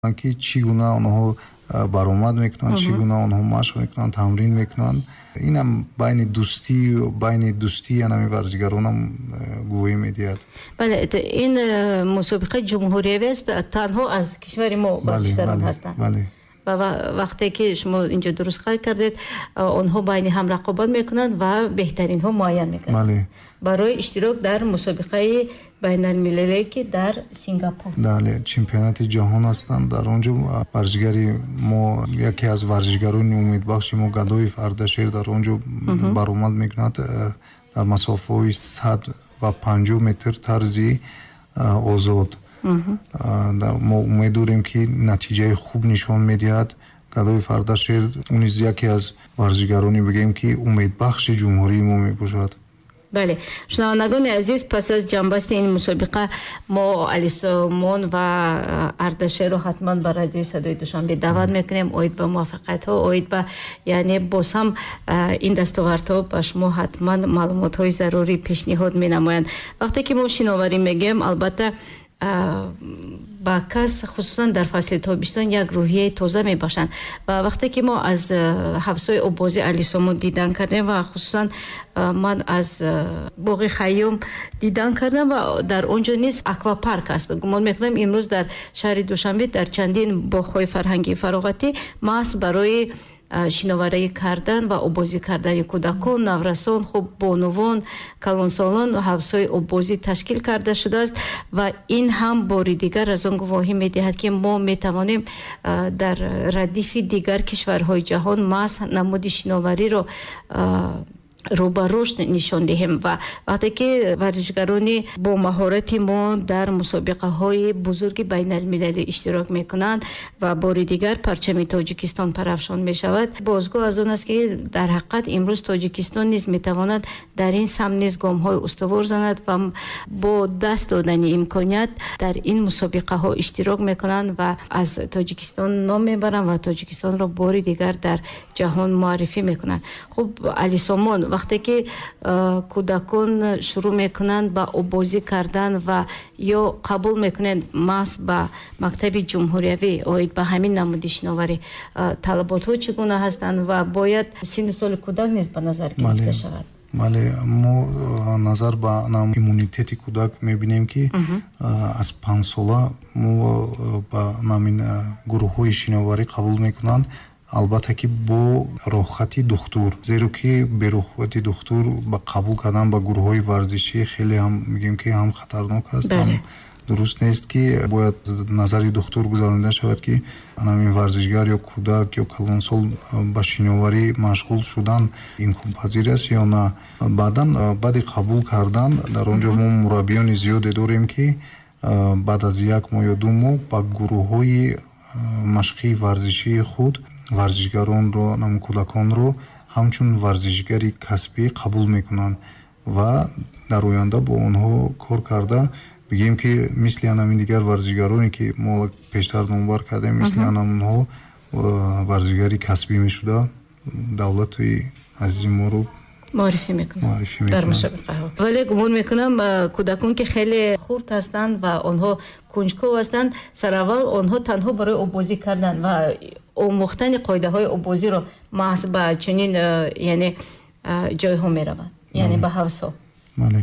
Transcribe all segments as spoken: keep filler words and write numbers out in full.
Ки чӣ гуна онҳо баромад мекунанд, чӣ гуна онҳо машқ мекунанд, тамрин мекунанд. Инам байни дӯстӣ байни дӯстии анами варзигаронам гувоҳӣ медиҳад. Бале, ин мусобиқаи ҷумҳуриявӣ аст, танҳо аз кишвари мо варзишгарон ҳастанд. Бале. Ва вақте ки шумо инҷо дуруст қайд кардед, онҳо байни ҳам рақобат мекунанд ва беҳтаринҳо муайян мекунанд. Бале. Барои иштирок дар мусобиқаи байналмилалие, ки дар Сингапур. Бале, чемпионати ҷаҳон ҳастанд. Дар он ҷо варзишгари мо, яке аз варзишгарони умедбахши мо, Гадоев Ардашер, дар он ҷо баромад мекунад дар масофаҳои сад ва панҷоҳ метр тарзи озод. Мо умед дорем, ки натиҷаи хуб нишон медиҳад. Гадоев Ардашер низ яке аз варзишгароне, бигӯем, ки умедбахши ҷумҳурии мо мебошад. Бале, шунавандагони азиз, пас аз ҷамъбасти ин мусобиқа мо Алисомон ва Ардашерро ҳатман ба радиои Садои Душанбе даъват мекунем оид ба муваффақиятҳо, оид ба, яъне, боз ҳам ин дастовардҳо ба шумо ҳатман маълумотҳои зарурӣ пешниҳод менамоянд. Вақте ки мо шиноварӣ мегӯем, албатта, ба кас, хусусан дар фасли тобистон, як рӯҳияи тоза мебахшанд. Ва вақте ки мо аз ҳавзҳои оббозӣ, Алисомон, дидан кардем ва хусусан ман аз боғи Хайём дидан кардам ва дар он ҷо низ аквапарк аст. Гумон мекунам, имрӯз дар шаҳри Душанбе дар чандин боғҳои фарҳангии фароғатӣ маҳз барои шиноварӣ кардан ва оббозӣ кардани кӯдакон, наврасон, хуб, бонувон, калонсолон ҳавзҳои оббозӣ ташкил карда шудааст ва ин ҳам бори дигар аз он гувоҳӣ медиҳад, ки мо метавонем дар радифи дигар кишварҳои ҷаҳон маҳз намуди шиновариро рӯ ба рушд нишон диҳем. Ва вақте ки варзишгарони бо маҳорати мо дар мусобиқаҳои бузурги байналмилалӣ иштирок мекунанд ва бори дигар парчами Тоҷикистон парафшон мешавад, бозгӯ аз он аст, ки дар ҳақиқат имрӯз Тоҷикистон низ метавонад дар ин самт низ гомҳои устувор занад ва бо даст додани имконият дар ин мусобиқаҳо иштирок мекунанд ва аз Тоҷикистон ном мебаранд ва Тоҷикистонро бори дигар дар ҷаҳон муаррифӣ мекунанд. Хуб, Алисомон, вақте ки кӯдакон шурӯъ мекунанд ба оббозӣ кардан ва ё қабул мекунанд маҳз ба мактаби ҷумҳуриявӣ оид ба ҳамин намуди шиноварӣ, талаботҳо чӣ гуна ҳастанд ва бояд синну соли кӯдак низ ба назар гирифта шавад? Бале, мо назар ба иммунитети кӯдак мебинем, ки аз панҷсола мо ба намин гурӯҳҳои шиноварӣ қабул мекунанд, албатта ки бо роҳхати духтур, зеро ки бе роҳхати духтур ба қабул кардан ба гурӯҳҳои варзишӣ хеле ҳам, мегӯем, ки ҳам хатарнок аст, ҳам дуруст нест, ки бояд назари духтур гузаронида шавад, ки ҳамин варзишгар ё кӯдак ё калонсол ба шиноварӣ машғул шудан имконпазир аст ё на. Баъдан, баъди қабул кардан, дар он ҷо мо мураббиёни зиёде дорем, ки баъд аз як моҳ ё ду моҳ ба гурӯҳҳои машқии варзишии худ варзишгаронро, кӯдаконро ҳамчун варзишгари касбӣ қабул мекунанд ва дар оянда бо онҳо кор карда, бигӯем, ки мисли анамин дигар варзишгароне, ки мо пештар номбар кардем, мисли анамонҳо варзишгари касбӣ мешуда, давлати азизи моро муаррифӣ мекунанд дар мусобиқаҳо. Вале гумон мекунам, кӯдакон, ки хеле хурд ҳастанд ва онҳо кунҷков ҳастанд, сараввал онҳо танҳо барои оббозӣ кардан ва омӯхтани қоидаҳои оббозиро маҳз ба чунин, яъне, ҷойҳо мераванд, яъне ба ҳавзҳо. Бале,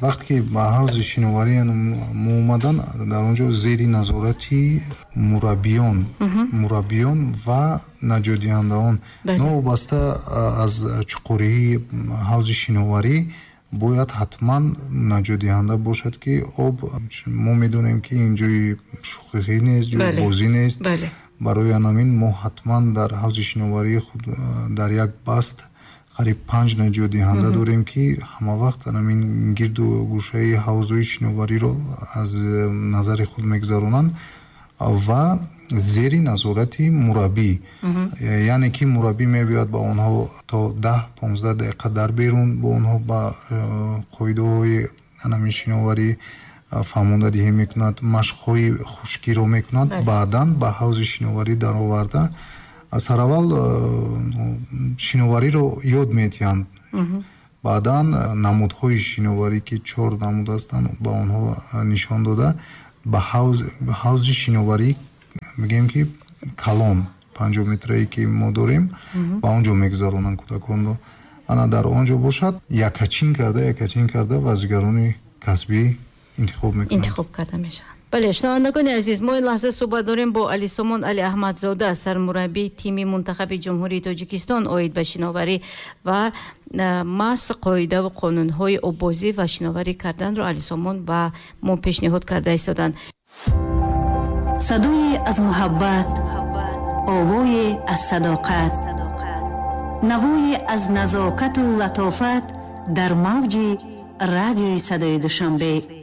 вақте ки ба ҳавзи шиноварӣ мо омадан, дар он ҷо зери назорати мураббиён мураббиён ва наҷотдиҳандаон, новобаста аз чуқурии ҳавзи шиноварӣ, бояд ҳатман наҷотдиҳанда бошад, ки об, мо медонем, ки ин ҷои шӯхӣ нест, ҷои бозӣ нест. Барои анамин мо ҳатман дар ҳавзи шиноварии худ дар як баст қариб панҷ наҷотдиҳанда дорем, ки ҳамавақт анамин гирду гӯшаи ҳавзҳои шиновариро аз назари худ мегузаронанд ва зери назорати мураббӣ, яъне ки мураббӣ мебиёяд, ба онҳо то даҳ понздаҳ дақиқа дар берун бо онҳо ба қоидаҳои анамин шиноварӣ фаҳмондадиҳӣ мекунад, машқҳои хушкиро мекунад, баъдан ба ҳавзи шиноварӣ дароварда, сараввал шиновариро ёд медиҳанд, баъдан намудҳои шиноварӣ, ки чор намуд ҳастанд, ба онҳо нишон дода, ба ҳавзи шиноварӣ. Мегӯем ки калон панҷоҳ метрае ки мо дорем, ба он ҷо мегузаронанд кӯдаконро. Ана дар он ҷо бошад, якачин карда, якачин карда варзишгарони касбӣ интихоб мекунанд. Интихоб карда мешаванд. Бале, шунавандагони азиз, мо ин лаҳза суҳбат дорем бо Алисомон Алиаҳмадзода, сармураббии тими мунтахаби Ҷумҳурии Тоҷикистон оид ба шиноварӣ ва маҳз қоидаву қонунҳои оббозӣ ва шиноварӣ карданро Алисомон ба мо пешниҳод карда истоданд. Садое аз муҳаббат, овое аз садоқат, навое аз назокату латофат дар мавҷи радиои Садои Душанбе.